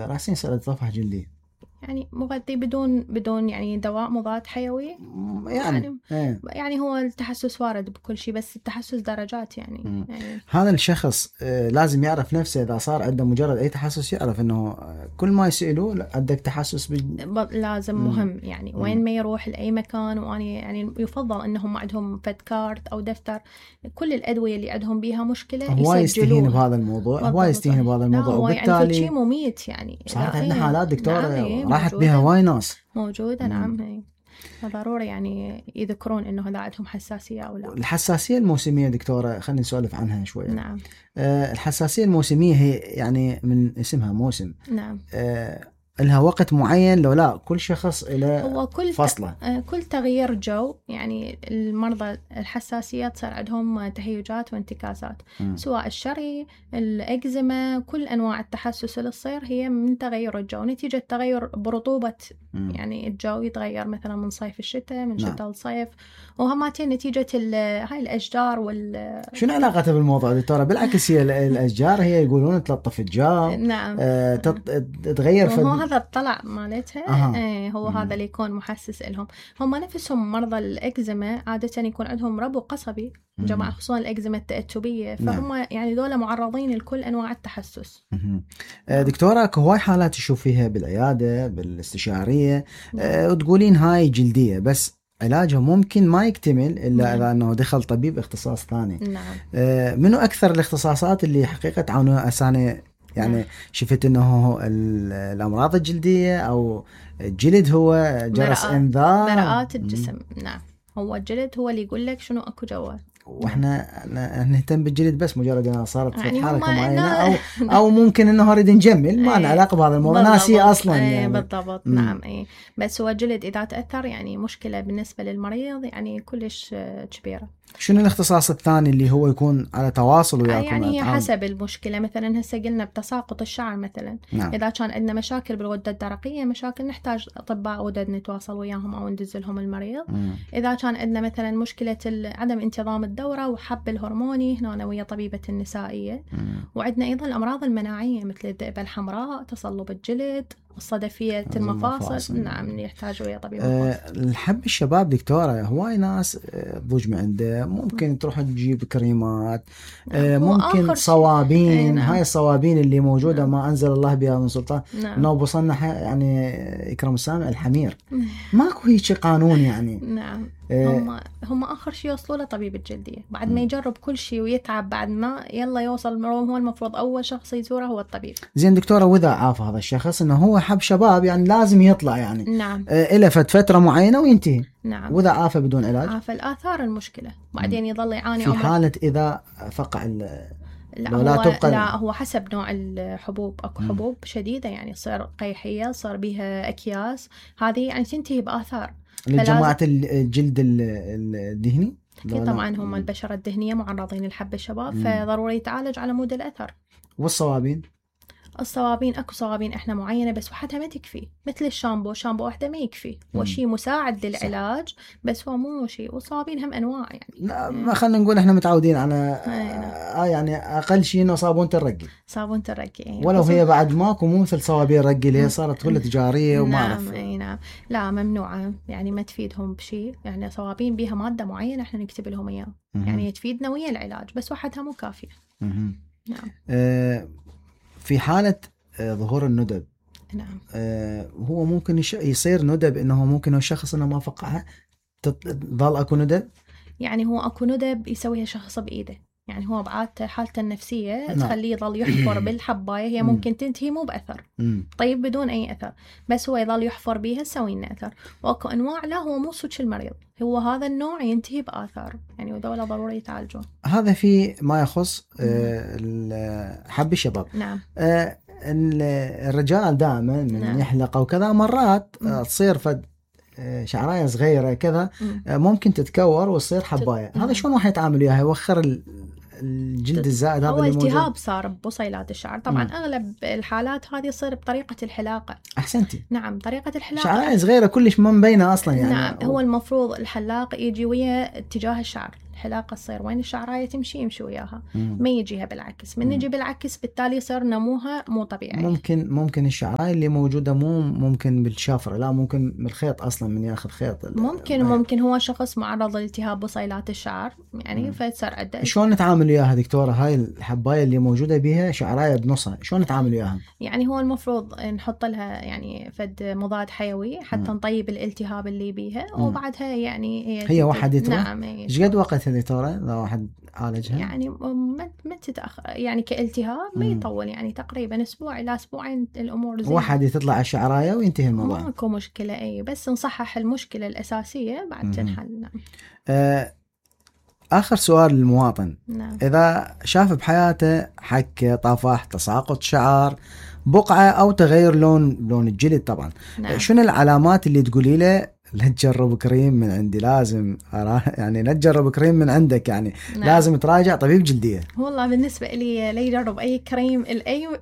راسين سألت تصفح جلدي يعني مغذي بدون يعني دواء مضاد حيوي يعني يعني هو التحسس وارد بكل شيء، بس التحسس درجات يعني. هذا الشخص لازم يعرف نفسه إذا صار عنده مجرد أي تحسس، يعرف إنه كل ما يسألوه عندك تحسس لازم مهم يعني وين ما يروح لأي مكان. وأنا يعني يفضل إنهم عندهم فد كارت أو دفتر كل الأدوية اللي عندهم بيها مشكلة هو يستهين بهذا الموضوع، هو يستهين بهذا الموضوع، وبالتالي يعني شيء مميت يعني. صارت عندنا حالات دكتورة راحت بها هواي ناس موجودة. نعم ضروري يعني يذكرون إنه هذا عندهم حساسية أو لا. الحساسية الموسمية دكتورة خلينا نسولف عنها شوية. نعم. الحساسية الموسمية هي يعني من اسمها موسم. نعم. لها وقت معين لو لا كل شخص إلى فصله؟ كل تغيير جو يعني المرضى الحساسية تصير عندهم تهيجات وانتكاسات، سواء الشري الإكزيما، كل أنواع التحسس اللي تصير هي من تغير الجو نتيجة تغير برطوبة يعني الجو يتغير مثلا من صيف الشتاء، من شتاء الصيف، وهماتين نتيجة هاي الأشجار شنو علاقتها بالموضوع دكتورة؟ بالعكس هي الأشجار هي يقولون تلطف الجو. نعم. تتغير هذا الطلع مالتها. هو هذا اللي يكون محسس لهم. هم نفسهم مرضى الإكزيما عادة يكون عندهم ربو قصبي جماعة، خصوصا الإكزيما التأتبية، فهم يعني دول معرضين لكل أنواع التحسس. دكتورة هواي حالات تشوف فيها بالعيادة بالاستشارية وتقولين هاي جلدية، بس علاجه ممكن ما يكتمل إلا إذا أنه دخل طبيب اختصاص ثاني. منو أكثر الاختصاصات اللي حقيقة تعاونوا أساني يعني شفت انه الامراض الجلدية او الجلد هو جرس انذار؟ مرآة الجسم. نعم، هو الجلد هو اللي يقول لك شنو اكو جوا، واحنا نهتم بالجلد بس مجرد انها صارت يعني حركه معينه او ممكن انه نريد نجمل، ما لنا علاقه بهذا الموضوع، ناسي اصلا يعني. بالضبط. نعم. بس هو الجلد اذا تاثر يعني مشكله بالنسبه للمريض يعني كلش كبيره. شنو الاختصاص الثاني اللي هو يكون على تواصل وياكم؟ يعني حسب المشكله، مثلا هسه قلنا بتساقط الشعر مثلا. نعم. اذا كان عندنا مشاكل بالغده الدرقيه، مشاكل نحتاج اطباء غدد نتواصل وياهم او ندز لهم المريض. اذا كان عندنا مثلا مشكله عدم انتظام الدوره وحب الهرموني، هنا ويا طبيبه النسائيه. وعندنا ايضا الامراض المناعيه مثل الذئبه الحمراء، تصلب الجلد، الصدفية المفاصل. نعم، يحتاجوا ويا طبيب الحب الشباب دكتورة هواي ناس ضوج من عنده، ممكن تروح تجيب كريمات. ممكن صوابين. نعم. هاي الصوابين اللي موجودة. نعم. ما أنزل الله بها من سلطان. نعم. إنه بصنع يعني إكرام السامع الحمير. ماكو هيك قانون يعني. نعم. هم آخر شيء يوصلوا لطبيب الجلدية بعد ما يجرب كل شيء ويتعب، بعد ما يلا يوصل هو المفروض أول شخص يزوره هو الطبيب. زين دكتورة، وإذا عاف هذا الشخص إنه هو حب شباب يعني لازم يطلع يعني. نعم. إلى فترة معينة وينتهي. نعم. وإذا عافى بدون علاج؟ عافى الآثار المشكلة، بعدين يظل يعاني في حالة إذا فقع لا هو حسب نوع الحبوب. اكو حبوب شديدة يعني تصير قيحية، صار بيها أكياس، هذه يعني تنتهي بآثار. لجماعة الجلد الدهني طبعا هم البشرة الدهنية معرضين للحب الشباب، فضروري يتعالج على مود الأثر. والصوابين اكو صوابين احنا معينه بس وحدها ما تكفي، مثل الشامبو وحده ما يكفي، هو شيء مساعد للعلاج بس هو مو شيء. والصوابين هم انواع يعني. لا ما خلينا نقول احنا متعودين على يعني اقل شيء انه صابونه الرقي ولو هي بعد ماكو، مو مثل صوابين الرقي اللي هي صارت كلها تجاريه وما اعرف. نعم. لا ممنوعه يعني، ما تفيدهم بشيء يعني. صوابين بيها ماده معينه احنا نكتب لهم اياها يعني تفيدنا ويا العلاج، بس وحدها مو كافيه. نعم. في حالة ظهور الندب. نعم. هو ممكن يصير ندب انه ممكن الشخص انه ما فقعها تظل اكو ندب. يعني هو اكو ندب يسويها شخص بايده، يعني هو بعادته حالته النفسية تخليه يظل يحفر بالحباية، هي ممكن تنتهي مو بأثر. طيب بدون أي أثر، بس هو يظل يحفر بيها تسوي لنا أثر. وأكو أنواع لا هو مو صدق المريض، هو هذا النوع ينتهي بآثار يعني، وذولا ضروري يتعالجون. هذا في ما يخص حب الشباب. نعم. الرجال دائما من يحلق وكذا مرات تصير فد شعرايه صغيره كذا ممكن تتكور وتصير حبايه. هذا شلون راح يتعامل وياها؟ يوخر الجلد الزائد هذا اللي موجود. هو التهاب صار ببصيلات الشعر طبعا. اغلب الحالات هذه تصير بطريقه الحلاقه. احسنتي. نعم، طريقه الحلاقه. شعرايه صغيره كلش ما مبينه اصلا يعني. نعم. هو المفروض الحلاق يجي ويا اتجاه الشعر، الحلاقة تصير وين الشعراية يمشي وياها، ما يجيها بالعكس. من يجي بالعكس بالتالي يصير نموها مو طبيعي. ممكن الشعراية اللي موجودة مو ممكن بالشفرة، لا ممكن بالخيط أصلا، من ياخذ خيط ممكن هو شخص معرض لالتهاب بصيلات الشعر يعني فتصير عنده. شلون نتعامل وياها دكتورة؟ هاي الحباية اللي موجودة بها شعراية بنصها، شلون نتعامل وياها؟ يعني هو المفروض نحط لها يعني فد مضاد حيوي حتى نطيب الالتهاب اللي بيها، وبعدها يعني هي واحد تروح. نعم. ايش قد وقت دكتورة لو واحد عالجها؟ يعني ما تتأخر يعني كالتهاب ما يطول، يعني تقريبا اسبوع الى اسبوعين الامور زين. واحد تطلع الشعرايه وينتهي الموضوع، ماكو مشكله. اي بس نصحح المشكله الاساسيه بعد تنحل. نعم. اخر سؤال للمواطن. نعم. اذا شاف بحياته حكه، طفح، تساقط شعر، بقعه او تغير لون الجلد طبعا، نعم. شنو العلامات اللي تقولي له لا تجرب كريم من عندي، لازم يعني لا تجرب كريم من عندك يعني؟ نعم. لازم تراجع طبيب جلدية. والله بالنسبة لي لا يجرب أي كريم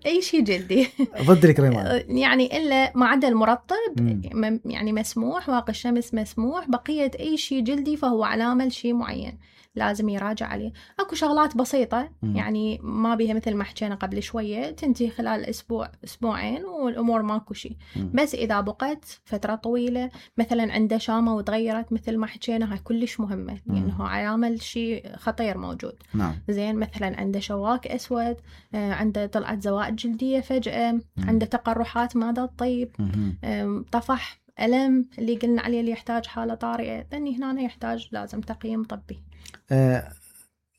أي شيء جلدي ضد الكريمات يعني إلا ما عدا المرطب يعني مسموح، واقي الشمس مسموح، بقية أي شيء جلدي فهو علامة لشيء معين لازم يراجع عليه. اكو شغلات بسيطة يعني ما بيها مثل ما حكينا قبل شوية تنتهي خلال اسبوع اسبوعين والامور ماكو شيء. بس اذا بقت فترة طويلة مثلا عنده شامة وتغيرت مثل ما حكينا هاي كلش مهمة لانه علامة شيء خطير موجود. نعم. زين مثلا عنده شواك اسود، عنده طلعت زوائد جلدية فجأة، عنده تقرحات ماذا تطيب، طفح، ألم اللي قلنا عليه اللي يحتاج حالة طارئة، لأني هنا يحتاج لازم تقييم طبي.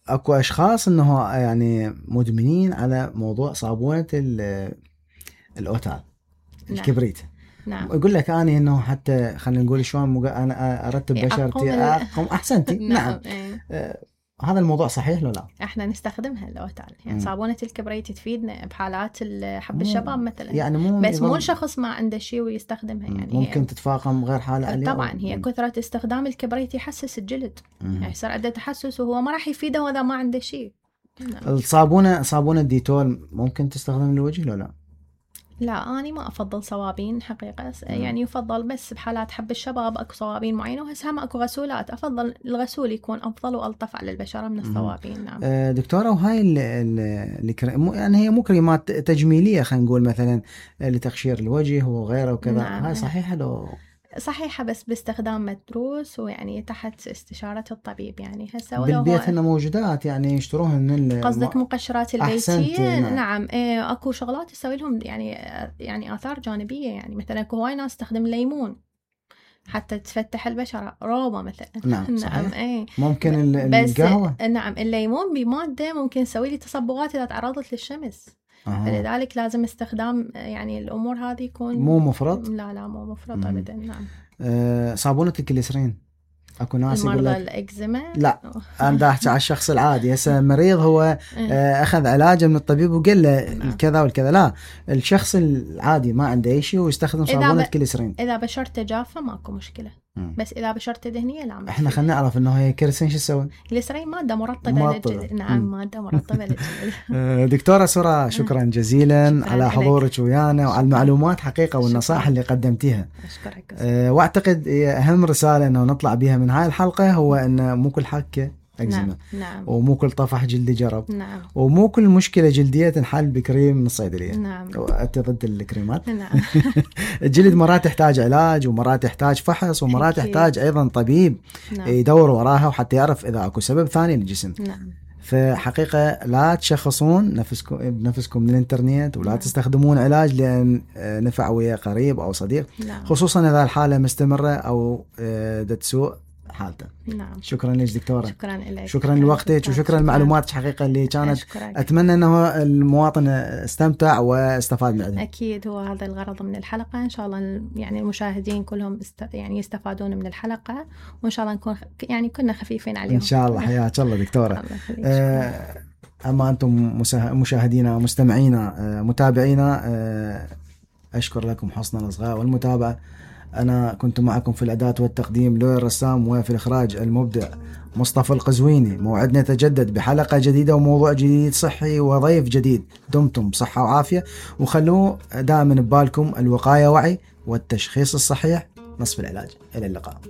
أكو أشخاص أنه يعني مدمنين على موضوع صابونة الأوتال الكبريت. نعم. يقول لك أنا أنه حتى خلينا نقول شلون أنا أرتب بشرتي أقوم أحسنتي. نعم. هذا الموضوع صحيح لو لا؟ احنا نستخدمها الأوتال يعني صابونة الكبريت تفيدنا بحالات حب الشباب مثلا يعني بس مو الشخص ما عنده شيء ويستخدمها يعني ممكن تتفاقم غير حالة عليه. طبعا هي كثرة استخدام الكبريت يحسس الجلد يعني يصير عنده تحسس وهو ما راح يفيده إذا ما عنده شيء. صابونة ديتول ممكن تستخدم للوجه لو لا؟ لا أنا ما أفضل صوابين حقيقة يعني يفضل بس بحالات حب الشباب أكو صوابين معينة وهسه هم أكو غسولات أفضل الغسول يكون أفضل وألطف على البشرة من الصوابين. نعم. دكتورة وهاي يعني هي مو كريمات تجميلية خلينا نقول مثلا لتقشير الوجه وغيره وكذا. نعم. هاي صحيحة لو؟ صحيحة بس باستخدام مدروس ويعني تحت استشارة الطبيب يعني هسه بالبيت هنا موجودات يعني يشتروهن من قصدك مقشرات البيتية. نعم. اكو شغلات تسوي لهم يعني آثار جانبية يعني مثلا اكو هواي ناس تستخدم الليمون حتى تفتح البشرة روبة مثلا. نعم. صحيح. ممكن القهوة. نعم الليمون بمادة ممكن تسوي لي تصبغات إذا تعرضت للشمس. فلذلك لازم استخدام يعني الأمور هذه يكون مو مفرط. لا مو مفرط أبدا. نعم. صابونة الكليسرين اكو ناس يقول لك الإكزيما. لا انا احكي على الشخص العادي هسه مريض هو اخذ علاجه من الطبيب وقال له الكذا والكذا. لا الشخص العادي ما عنده اي شيء ويستخدم صابونة كليسرين. اذا بشرته جافة ماكو مشكلة. بس اذا بشرته دهنيه لا مشكلة. احنا خلينا نعرف انه هي كليسرين شو تسوي؟ كليسرين ماده مرطبه للجلد. نعم. ماده مرطبه للجلد. دكتوره سرى شكرا جزيلا على حضورك ويانا وعلى المعلومات حقيقه والنصائح اللي قدمتيها. اشكرك. واعتقد اهم رساله انه نطلع بها من هاي الحلقه هو ان مو كل حكه أكزيما. نعم. ومو كل طفح جلدي جرب. نعم. ومو كل مشكلة جلدية تنحل بكريم من الصيدلية. نعم. أنت ضد الكريمات؟ نعم. الجلد مرات يحتاج علاج ومرات يحتاج فحص ومرات يحتاج أيضا طبيب. نعم. يدور وراها وحتى يعرف إذا أكو سبب ثاني للجسم. نعم. فحقيقة لا تشخصون بنفسكم من الانترنت ولا تستخدمون علاج لأن نفع ويا قريب أو صديق. نعم. خصوصا إذا الحالة مستمرة أو تسوء حالته. نعم. شكرا لك دكتورة. شكرا لك. شكرا لوقتك وشكرا لمعلوماتك حقيقة اللي كانت. أتمنى أنه المواطن استمتع واستفاد منها. أكيد هو هذا الغرض من الحلقة. إن شاء الله يعني المشاهدين كلهم يعني يستفادون من الحلقة وإن شاء الله نكون يعني كنا خفيفين عليهم. إن شاء الله. حياك الله دكتورة. أما أنتم مشاهدينا مستمعينا متابعينا أشكر لكم حسن الإصغاء والمتابعة. أنا كنت معكم في الإعداد والتقديم لؤي الرسام وفي الإخراج المبدع مصطفى القزويني. موعدنا يتجدد بحلقة جديدة وموضوع جديد صحي وضيف جديد. دمتم بصحة وعافية وخلوه دائما ببالكم الوقاية وعي والتشخيص الصحيح نصف العلاج. إلى اللقاء.